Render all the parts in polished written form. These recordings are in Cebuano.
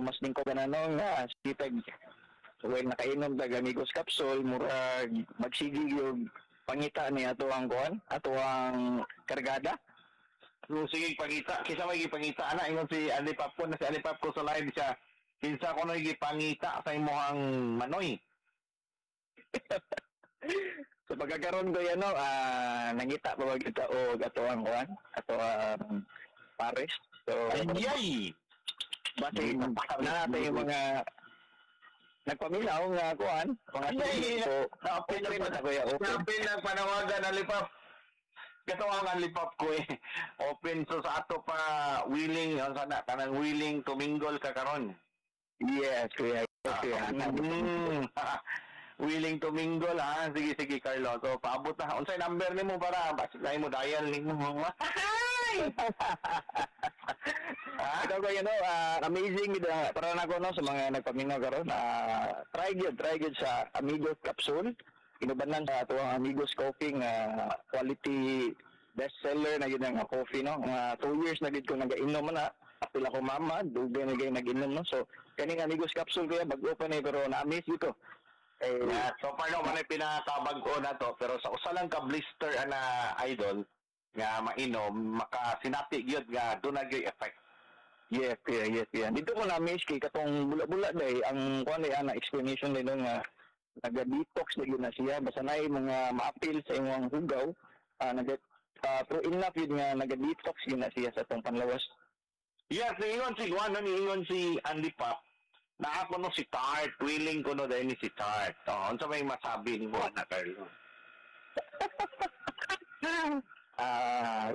mas lingko ka na no nga sitag well nakainom tag Amigos Capsule, murag magsige yung pangita ni ato ang kuan, ato ang kargada. So, sige, pangita. Kinsa may gipangita ana? Ingon si Andy Papko na si Andy Papko sa live siya. Kinsa ko no gipangita sa imong manoy? So pagkakaroon ko yan, no, nangita pa ba kita og ato ang kuan, ato ang pares. So, Ayay! Base na natin yung mga nagpaminaw nga kuan, mga Ay, so, na-open open na ta, kuya, open. Open na panawagan ang lipap. Katawa ang lipap ko eh. Open so sa ato pa willing ang sana kanang willing to mingle ka karon. Yes, kuya. Yes, kuya. Willing to mingle ha. Sige, sige, Carlo. So paabot na. Unsay number nimo para basta mo dial nimo? Ha? Ikaw kuya, no, amazing gid para nako no sa mga nagpaminaw karon. Try gyud sa Amigos Capsule. Inubanan sa ato ang Amigos Coffee nga quality best seller na gid nga coffee no. Nga 2 years na gid ko nagainom na. Apil ako mama, dugay na gid nag-inom no. So kaning Amigos Capsule kuya, bag-o pa ni pero na-amaze gid ko. Eh, Yeah, so far no man ay pinakabag-o na to, pero sa usa lang ka blister ana, idol, nga mainom makasinati gyud nga duna gyud effect. Yes, kuya, yes, kuya. Dito ko na-miss kay katong bula-bula day, ang kuan day ana explanation day no nga naga-detox na yun na siya basta naay mga maapil sa imong hugaw, naga true enough yun nga naga-detox yun na siya sa atong panlawas. Yes, niingon si Juan, no, niingon si Andy Pop, na ako no si Tart, willing ko no dahil ni si Tart. Oh, unsa may masabi nimo ana, Carlo?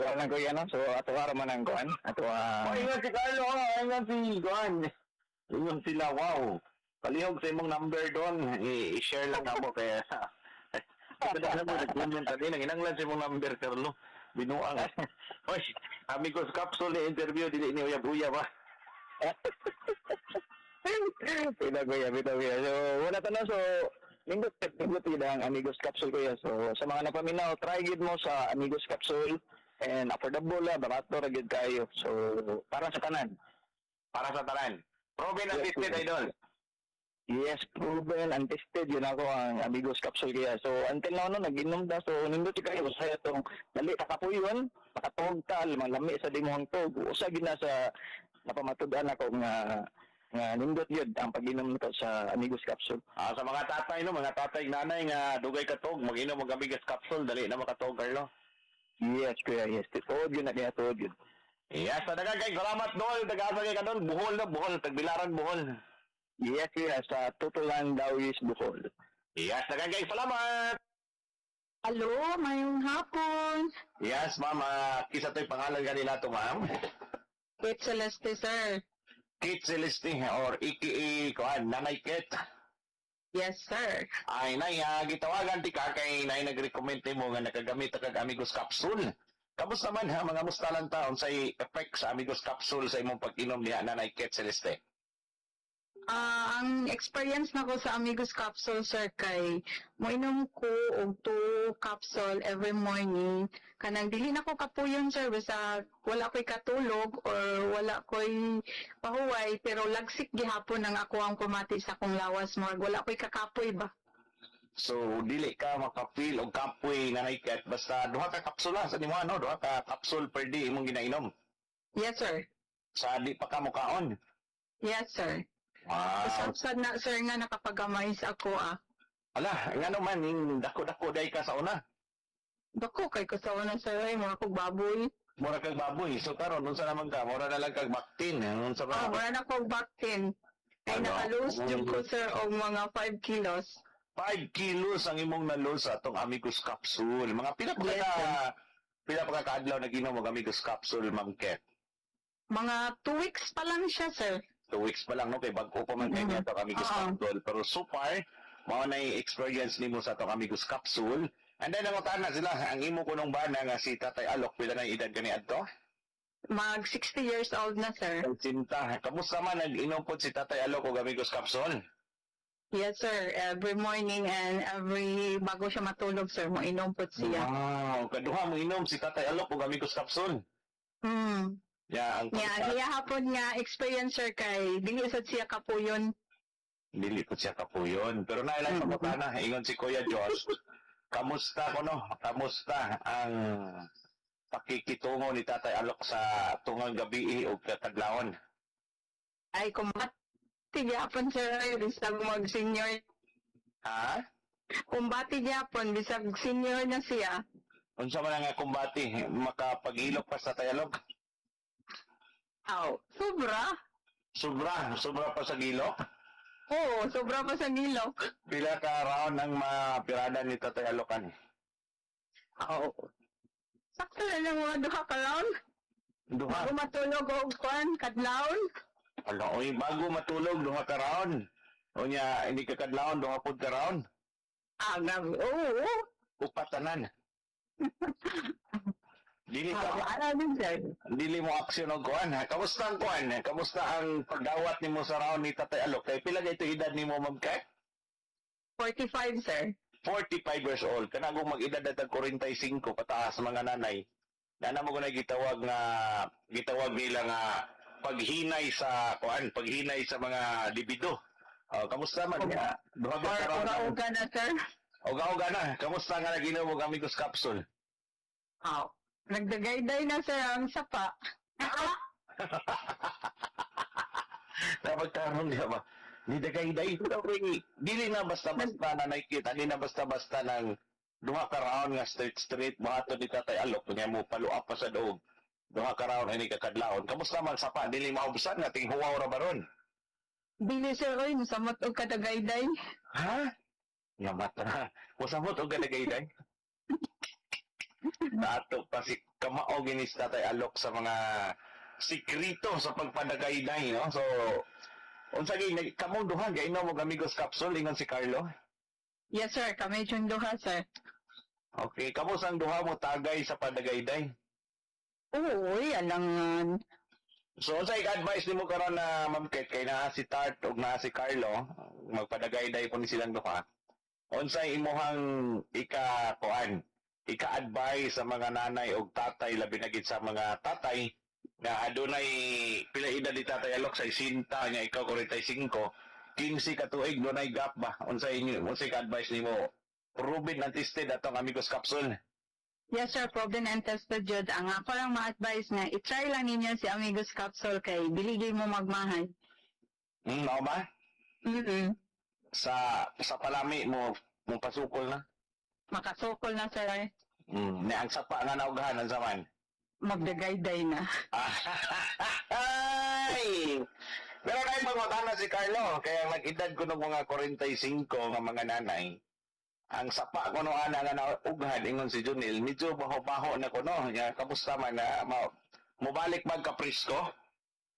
Wala lang kuya no. So ato ara man ang kuan, ato Oh, ingon si Carlo, oh, ingon si Juan. Ingon sila, wow. Palihog sa imong number doon. I-share lang ako kaya. Ito na mo, nag-comment ka din. Ang inanglan sa imong number, Carlo. Binuang. Hoy, Amigos Capsule ni interview, dili ni uyab-uyab ah. Pila kuya, pila kuya. So wala ta na, so nindot nindot yun ang Amigos Capsule kuya. So sa mga napaminaw, try gid mo sa Amigos Capsule and affordable la, barato ra gid kayo. So para sa tanan. Para sa tanan. Proven and Yes, tested, kuya. Idol. Yes, proven and tested yun ako ang Amigos Capsule kaya. So until now no nag-inom ta, so nindot kayo sa itong dali ta kapuyon, makatuog ta, malami sa dimuhang tog. Usa gid na sa napamatud-an ako nga nga nindot yun ang pag-inom nito sa Amigos Capsule. Ah, sa mga tatay no, mga tatay nanay nga dugay katog, mag-inom og Amigos Capsule, dali na makatog, Carlo. Yes, kuya, yes. Tuod yun na kaya, tuod yun. Yes, sa daghang kay salamat dol, tagasa kay kadol, Bohol no, Bohol, Tagbilaran, Bohol. Yes, kuya, sa Tutulan, Dauis, Bohol. Yes, daghang kay salamat. Hello, mayong hapon. Yes, ma'am, kinsa to'y pangalan kanila to, ma'am? Kate Celeste, sir. Kate Celeste or AKA kuan, Nanay Kate. Yes, sir. Ay, nay, gitawagan ti ka kay nay nag-recommend mo nga nakagamit ka kag Amigos Capsule. Kamusta man ha, mga musta lang ta unsay effect sa Amigos Capsule sa imong pag-inom niya, Nanay Kate Celeste? Ang experience nako sa Amigos Capsule, sir, kay moinom ko og two capsule every morning. Kanang dili na ko kapuyon, sir, basta wala ko'y katulog or wala ko'y pahuway, pero lagsik gihapon ang ako ang pamati sa akong lawas mo. Wala ko'y kakapoy ba? So dili ka makapil og kapoy, Nanay Kate, basta duha ka kapsula sa nimo ano, duha ka capsule per day imong ginainom? Yes, sir. Sa di pa ka mukaon. Yes, sir. Wow. Usab na, sir, nga nakapagamay sa ako ah. Ala, ngano man ning dako-dako day ka sa una? Dako kay ko sa una, sir, ay mga kog baboy. Mura kag baboy. So karon unsa naman ka? Mura na lang kag baktin. Unsa ba? Ah, wala na kog baktin. Ay Ano? naka-lose jud ko, sir, og mga 5 kilos. 5 kilos ang imong na-lose sa atong Amigos Capsule. Mga pila pa Yes, ka sir. pila pa ka kaadlaw nag-inom og Amigos Capsule, Ma'am Ket? Mga 2 weeks pa lang siya, sir. 2 weeks pa lang no kay bag-o pa man kay niya atong Amigos Capsule. Pero so far, mao na experience nimo sa atong Amigos Capsule. And then nangutan na sila ang imo kunong bana nga si Tatay Alok, pila na edad kani adto? Mag 60 years old na, sir. Sinta. Kamusta man nag-inom pod si Tatay Alok og Amigos Capsule? Yes, sir. Every morning and every bago siya matulog, sir, moinom po siya. Wow, kaduha mo inom si Tatay Alok og Amigos Capsule. Ya, ang Nya ang iya hapon nga experience, sir, kay dili sad siya kapuyon. Dili po siya kapuyon. Pero nailang pangutana, ingon si Kuya Josh, kamusta ko no? Kamusta ang pakikitungo ni Tatay Alok sa tungang gabi o katadlawon? Ay, kumbati gyapon, sir, ay, bisag mag senior. Ha? Kumbati gyapon bisag senior na siya. Unsa man nga kumbati, makapag-ilok pa sa Tatay Alok? Aw, sobra. Sobra, sobra pa sa gilok? Oo, sobra pa sa gilok. Pila ka round ang mapirada ni Tatay Alokan? Aw. Sakto na lang mga duha ka round. Duha. Bago matulog og kwan, kadlawon. Ala, oy, bago matulog, duha ka round. Unya, hindi ka kadlawon, duha pud ka round. Ah, grabe. Oo. Upat tanan. Dili ka Ah, ana din, sir. Dili mo aksyon og kuan ha. Kamusta ang kuan? Kamusta ang pagdawat nimo sa round ni Tatay Alok? Kay pila kay edad nimo, Ma'am Kat? 45, sir. 45 years old. Kana kung mag-edad na tag 45 pataas mga nanay. Nana mo kunay gitawag nila nga paghinay sa kuan, paghinay sa mga libido. Oh, kamusta man nga? Duha ba Or ka round? uga-uga na, sir. Uga-uga na. Kamusta nga naginom og Amigos capsule? Aw. Nagdagayday na, sir, ang sapa. Napagtarong niya ba? Ni dagay-day. Dili na basta-basta na nakikita. Dili na basta-basta ng duha ka round nga straight straight buhaton ni Tatay Alok nya mo paluap pa sa doog. Duha ka round ay kakadlawon. Kamusta man sapa? Dili maubsan nga tinghuwaw ra baron. Dili, sir, oy, musamot og kadagayday. Ha? Nga mata na. Musamot og kadagayday. Dato pa si kamao gini si Tatay Alok sa mga sikrito sa pagpadagayday, no? So, unsa gyud kamong duha gainom og Amigos capsule ingon si Carlo? Yes, sir, kami yung duha, sir. Okay, kamo sang duha mo tagay sa padagayday? Oo, uy, alangan. So unsay advice nimo karon na Ma'am Kate kay naa si Tart ug naa si Carlo, magpadagayday po ni silang duha. Unsay imuhang ika kuan, ika-advise sa mga nanay ug tatay, labi na gid sa mga tatay nga adunay pila edad ni Tatay Alok sa 60 nya ikaw 45, 15 ka tuig dunay gap ba? Unsay ka-advise nimo? Proven and tested atong Amigos capsule. Yes, sir, proven and tested jud. Ang ako lang ma-advise nga, i-try lang ninyo si Amigos Capsule kay dili mo magmahay. Mao ba? Mm. Sa palami mo mo pasukol na. Makasukol na, sir. Ni ang sapa nga naugahan ang zaman. Magdagayday na. Ay! Pero kay pangutana si Carlo, kaya nag-edad ko ng mga 45 nga mga nanay. Ang sapa ko no ana nga naughan ingon si Junil, medyo baho-baho na ko no. Nya kamusta man na mobalik mag kaprisko?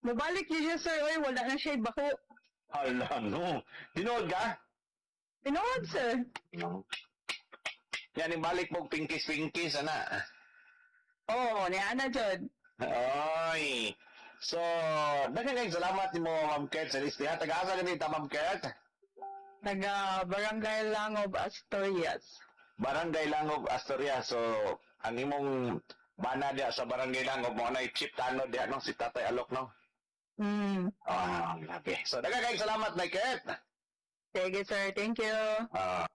Mubalik yun siya, sir. Oy, wala na siya bako. Hala no. Tinuod ka? Tinuod, sir. No. Yan ibalik mo pingkis-pingkis ana. Oo, ni ana jud. Oy. So, daghan kayong salamat nimo, Ma'am Kurt sa listihan. Taga-asa ka dito, Ma'am Kurt? Taga Barangay Langob, Asturias. Barangay Langob, Asturias. So, ang imong bana diya sa Barangay Langob mo na Chief Tano diya no, si Tatay Alok no. Ah, grabe. So, daghan kayong salamat na Kurt. Sige, sir. Thank you. Ah.